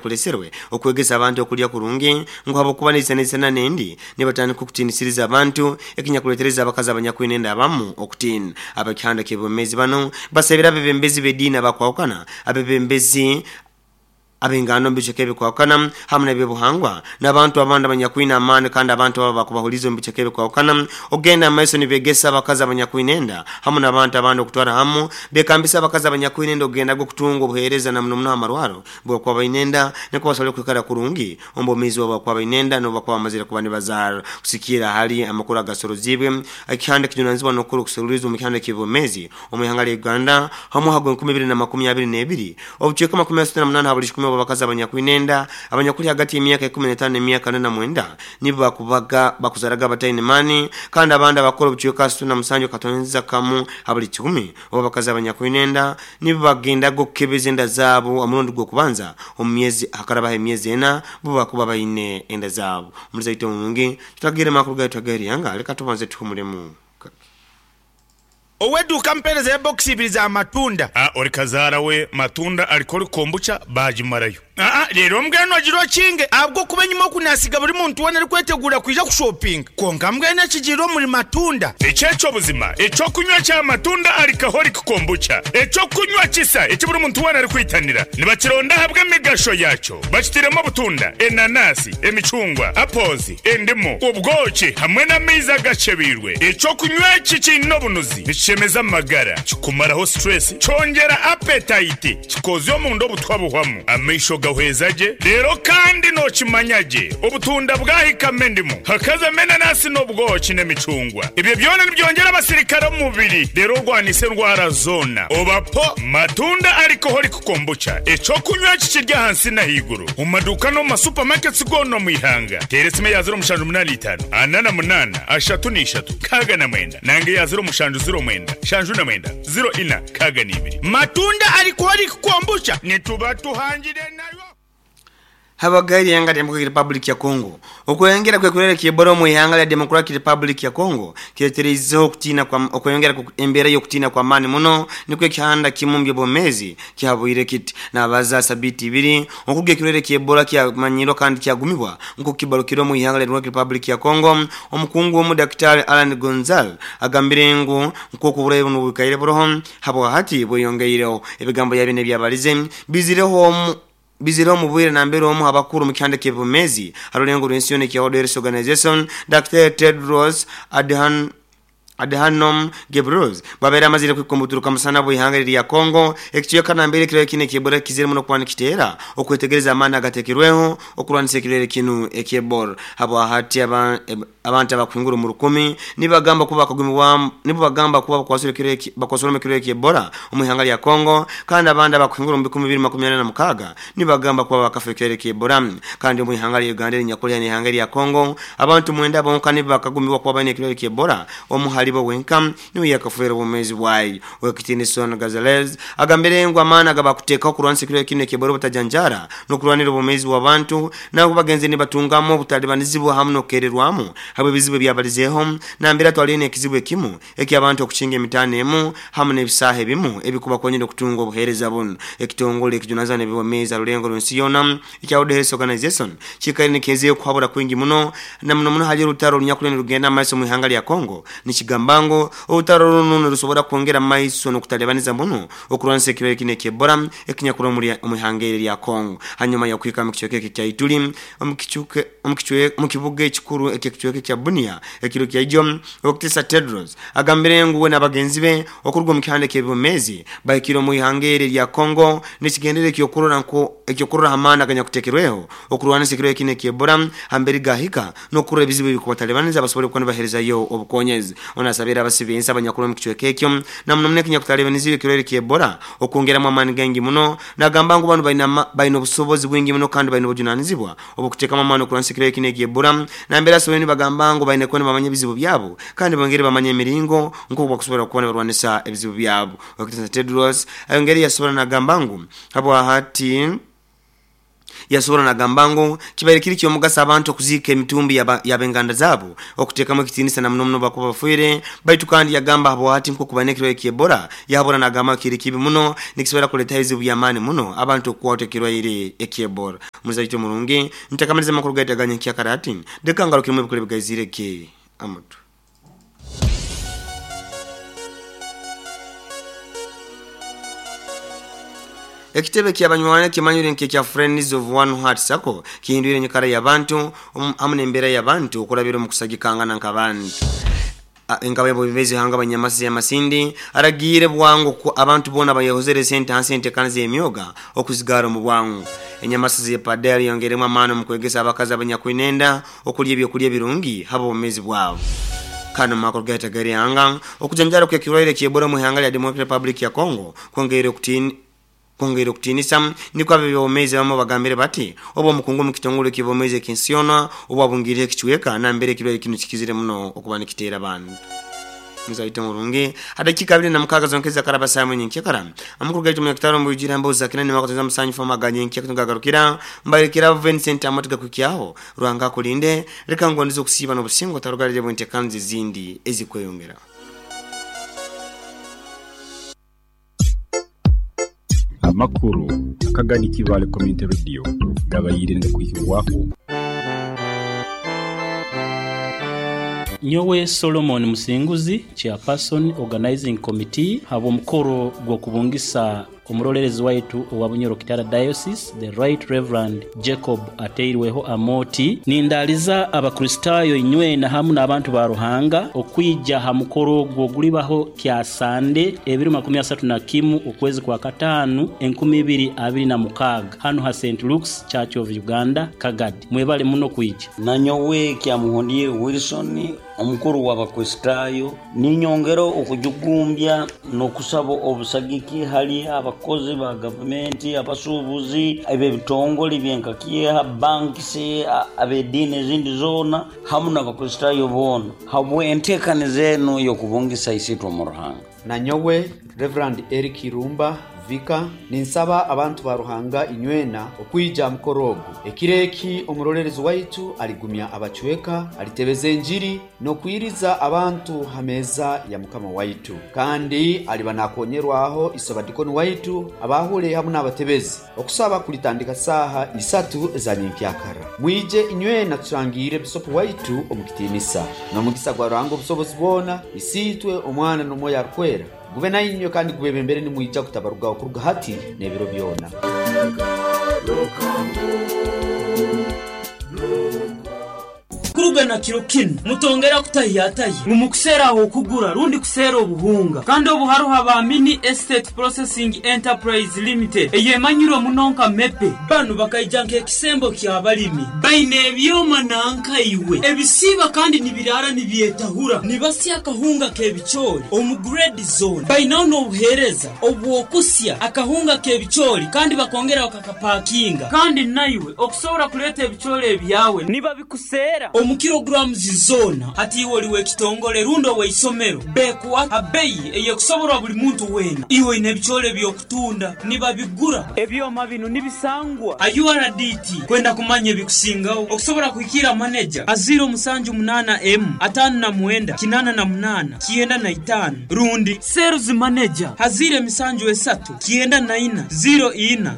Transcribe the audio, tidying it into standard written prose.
Kuleserwe okwegesa abantu okulya kurungi ngu habwokuba neisanaisana nendi nibatandika okutinisiriza abantu ekinyakuletereza abakazi abanyakwine enda abamu okutiina. Ab'ekihanda ky'ebwemezi banu basabire abebembezi b'ediini abakwahukana, abebembezi ab'enganda omu bicweka ebikwahukana hamu n'ebyobuhangwa n'abantu abandi abanyakwine amaani kandi abantu abo abakubahuliiza omu bicweka ebikwahukana okugenda omu maiso nibegesa abakazi abanyakwine enda hamu n'abantu abandi okutwara hamu bekambisa abakazi abanyakwine enda okugendaga okutunga obuheereza na muno muno ha marwaro obu bakuba baine enda nukwo basobole kwikara kurungi omu bwomeezi bwabo obu bakuba baine enda n'obu bakuba bamazire kuba nibazaara. Kusigikirra hali amakuru agasoroziibwe ekihanda ekijunanizibwa n'okukora okuseruliiriza omu kihanda ky'ebyomeezi omu ihanga lya Uganda ha mwaka gwa 2022, obucweka 38 ha buli kikumi obw'abakazi abanyakwine enda abanyakuli hagati y'emyaka 15 n'emyaka 49 nibo bakubaga bakuzaraga bataine maani kandi abandi abakukora obucweka 67.1 ha buli kikumi obw'abakazi abanyakwine enda Nibo bagendaga okukebeza enda zaabo omurundi gw'okubanza omu myezi hakarabaho emyezi ena bo bakuba baine enda zaabo. Omulizi waitu omurungi, tutagere makuru gaitu ag'eryanga, leka tubanze tuhumulemu kake. Ow'eduuka ampeereza ya bokisi ibiri za matunda. A Ori kazaara we matunda alcoholic kombucha baagimarayo. Aa Reero mbwenu ogire okinge, ahabw'okuba enyima oku naasiga buri muntu weena arikweteguura kwija kushopinga. Kwonka mbwenu ekigiire omuri matunda. Eki eky'obuzima, eky'okunywa kya matunda alcoholic kombucha, eky'okunywa kisa eki buri muntu weena arikwitanira. Nibakironda ahabw'emigasho yaakyo. Bakitairemu obutunda, enanasi, emicungwa, apples, endimu, obwoki hamwe n'amaizi agakyebeirwe. Eky'okunywa eki kiine obunuzi, nikishemeza amagara, kikumaraho stress, kyongyera appetite, Kikoozya omunda obutwa buhwamu, amaisho gahweza gye, reero kandi nookimanya gye obutunda bwahikamu endimu, hakazamu enanasi n'obwoki n'emicungwa. Ebyo byona nibyongyera abasirikare omu mubiri reero orwanise endwara zoona. Oba po Matunda Alcoholic Kombucha, eky'okunywa eki kiri ahansi n'ahaiguru omu maduuka n'omu ma supermarkets goona omu ihanga. Teera esimu eya 0785 48 33 69 nanga eya 0709 79 04 62. Matunda Alcoholic Kombucha nituba tuhangire nayo. Habaga eihanga lya Democratic Republic ya Congo. Okweyongera kw'ekirwaire kya Ebola omu ihanga lya Democratic Republic ya Congo kiretereizeho okutiina kwa okweyongera kwa embeera y'okutiina kw'amaani muno nikwo ekihanda kimu omu by'obwomeezi kihabwire kiti nabaza sabiiti ibiri okuruga ekirwaire kya Ebola kyamanyirwa kandi kyagumibwa nk'oku kibarukire omu ihanga lya Democratic Republic ya Congo. Omukungu omu Dakitari Alan Gonzal agambire ngu Nk'oku oburwaire bunu bwikaire buroho, habwahati bweyongeireho. Ebigambo bya binu ebyabalize bizireho omu bizireho omu bwire nambere omu ha bakuru omu kihanda ky'ebyomeezi ha rulengo rw'ensi yoona ekya World Health Organization, Daktari Tedros Adhan Adhanom Ghebreyesus bwabaire amazire kuhika omu buturuka musana bw'ihanga erya Congo, ekicweka nambere ekirwaire kinu eky'Ebola kizire muno kuba nikiteera okwetegereza amaani agatekerweho okurwanisa ekirwaire kinu eky'Ebola. Habwahati aba Abantu abakuhingura omu rukumi nibagamba kuba bakagumibwamu nibo bagamba kuba bakwasirwe bakwasirwemu ekirwaire kya Ebola omu ihanga lya Congo kandi abandi abakuhingura omu bikumi bibiri makumi ana na mukaaga nibagamba kuba bakafa ekirwaire kya Ebola. Kandi omu ihanga lya Uganda erinyakuli haihi n'ihanga erya Congo abantu mwenda bonka nibo bakagumibwa kuba baine ekirwaire kya Ebola omu halibo wenka niwe yakafeera obwomeezi bwaye. Owekitiinisa Gonzalez agambire ngu amaani agabakuteekaho kurwanisa ekirwaire kinu ekya Ebola obutajanjaara n'okurwanira obwomeezi bw'abantu Nabwo bagenzire nibatungamu obutalibanizibwa hamu n'okukererwamu habw'ebizibu ebyabalizeeho. Nambere atwaliire n'ekizibu ekimu eky'abantu okukinga emitaano emu hamu n'ebisaaha ebimu ebikubakonyera okutunga obuheereza bunu. Ekitongole ekijunanizibwa n'eby'obwomeezi ha rulengo rw'ensi yoona ekya World Health Organization kiikaire nikihezeeho okuhabura kwingi muno na muno muno hali orutaro orunyakuli nirugenda mu maiso omu ihanga lya Congo nikigamba ngu orutaro runu nirusobora kwongera mu maiso n'okutalibaniza muno Okurwanisa ekirwaire kinu eky'Ebola ekinyakuri omuri omu ihanga eri erya Congo hanyuma y'okuhika omu kicweka eki ekya Ituri omu kicuke omu kicwe omu kibuga ekikuru eky'ekicweka ekya Bunia ekiro kya ijo. Owekitiisa Tedros agambire ngu we n'abagenzi be okuruga omu kihanda eky'ebyomeezi bahikire omu ihanga eri erya Congo n'ekigendererwa eky'okurora nko eky'okurora ha maani aganyakutekerweho okurwanisa ekirwaire kinu eky'Ebola hamberi gahika n'okurora ebizibu ebikubatalibaniza basobole kuba nibaherezayo obukonyezi. Onu asabire abasi b'ensi abanyakuri omu kicweka ekyo na muno muno ekinyakutalibanizibwa ekirwaire kya Ebola okwongeramu amaani gaingi muno. Nagamba ngu banu baine baine obusobozi bwingi muno kandi baine obujunanizibwa obw'okuteekamu amaani okurwanisa ekirwaire kinu ekya Ebola. Nambere asoboire nibagamba ngu baine kuba nibamanya ebizibu byabo kandi bongere bamanye emiringo nk'oku bakusobora kuba nibarwanisa ebizibu byabo. Owekitiinisa Tedros ayongeire yasobora nagamba ngu habwahati, Yasobora nagamba ngu kibaire kiri ky'omugaso abantu okuziika emitumbi y'abenganda zaabo okuteekamu ekitiinisa na muno muno bakuba bafiire. Baitu kandi yagamba habwati nk'okuba n'ekirwaire ky'Ebola, yahabura nagamba kiri kibi muno, nikisobora kuleetaho ebizibu by'amaani muno abantu okukwatwa ekirwaire eky'Ebola. Muzaito murungi, ntakamaliza amakuru gaitu aga nyenkyakara ati, leka ngarukiremu ebikuru ebigaizire ge amatu. Ekitebe ky'abanywani ekimanyirwe nk'ekya Friends of One Heart Sacco kihindwire enyikara y'abantu hamu n'embeera y'abantu okurabira omu kusagikangana nk'abantu. Nk'abeebembezi b'ihanga Banyamasisi ya Masindi aragiire bwangu ku abantu boona abayehozere sente hansi y'enteekaniza y'emyoga okuzigaara omu bwangu. Enyamasisi ya Padel eyongeiremu amaani omu kwegesa abakazi abanyakwine enda okulya ebyokulya ebirungi habw'obwomeezi bwabo. Kandi omu makuru gaitu ag'eihanga, okujanjaara kw'ekirwaire ky'Ebola omu ihanga lya Democratic Republic ya Congo kwongeire okutiinisa, nikwo ab'eby'obwomeezi abamu bagambire bati obu omukungu omu kitongole ky'eby'obwomeezi eky'ensi yoona obu abungiireho ekicweka nambere ekirwaire kinu kikizire muno okuba nikiteera abantu. Muzaito murungi, ha dakiika 26 zonka ezakaraba saaha emwe nyenkyakara, amakuru gaitu munyakitara omu bwijwire ha mboozi za kinani mwaka 97 aga nyenkya tugagarukira mbarekera Vincent Amooti gakuhikyaho. Ruhanga akulinde, leka ngondeze okusiiba n'obusinge otarugalire bw'enteekaniza ezindi ezikweyongera. Amakuru akagani Kibaale Community Radio gabaire nigakwihibwaho. Nyowe Solomon Musinguzi, Chairperson Organizing Committee habw'omukoro gw'okubungisa Omuroleerezi waitu owa Bunyoro Kitara Diocese, The Right Rev. Jacob Ateirweho Amooti, Nindaaliza Abakristaayo inywena hamu n'abantu ba Ruhanga okwija ha mukoro ogwo ogulibaho Kyasande ebiro 31 okwezi kwa Kataanu 2026 hanu ha Saint Luke's Church of Uganda, Kagadi. Mwebale muno kwija. Nanyowe Kyamuhundire Wilson, omukuru w'Abakristaayo, ninyongera okujugumbya n'okusaba obusagiki hali abakozi ba gavumenti, abasuubuzi, ab'ebitongole byenka Kieha, banks, ab'ediini ezindi zoona hamu n'Abakristaayo boona habw'enteekaniza enu ey'okubungisa Isiitwe omu Ruhanga. Nanyowe Rev. Eric Irumba, Vicar, ninsaba abantu ba Ruhanga inywena okwija aha mukoro ogu. Ekiro eki omuroleerezi waitu aligumya abacweka, alitebeza enjiri n'okwiriza abantu ha meeza ya Mukama waitu. Kandi aliba nakonyerwaho isobadikoni waitu, abaahule hamu n'abatebezi. Okusaba kulitandika saaha isatu eza nyenkyakara. Mwije inywena turangiire Bisopu waitu omu kitiinisa. N'omugisa gwa Ruhanga Obusobozi bwona, Isiitwe, Omwana, n'Omwoyo Arukwera, gube nainywe kandi gubebembere nimwija kutabarugaho kuruga hati n'ebiro byona. Kuruga na kiro kinu, mutongera kutahiyatahya ngu mukuseera ah'okugura rundi kuseera obuhunga. Kandi obu haroho aba Mini Estate Processing Enterprise Limited eyemanyirwe muno nka MEPE. Banu bakaija nk'ekisembo ky'abalimi. Baine ebyoma nanka iwe ebisiiba kandi nibiraara nibyetahura, nibasya akahunga k'ebicoori omu grade zoona. Bainaho n'obuheereza obw'okusya akahunga k'ebicoori kandi bakongera bakakapakinga. Kandi naiwe okusobora kuleeta ebicoori ebyawe nibabikuseera omu kilograms zoona. Hati iwe oli w'ekitongole rundi ow'eisomero, bekuha ha beyi ey'ekusoborwa buli muntu weena. Iwe oine ebicoori eby'okutunda, nibabigura. Ebyoma binu nibisangwa ha URDT. Kwenda kumanya ebikusingaho, okusobora kuhikiira maneja ha 078 M 59 88 95 rundi Sales Manager ha 073 94 04 10.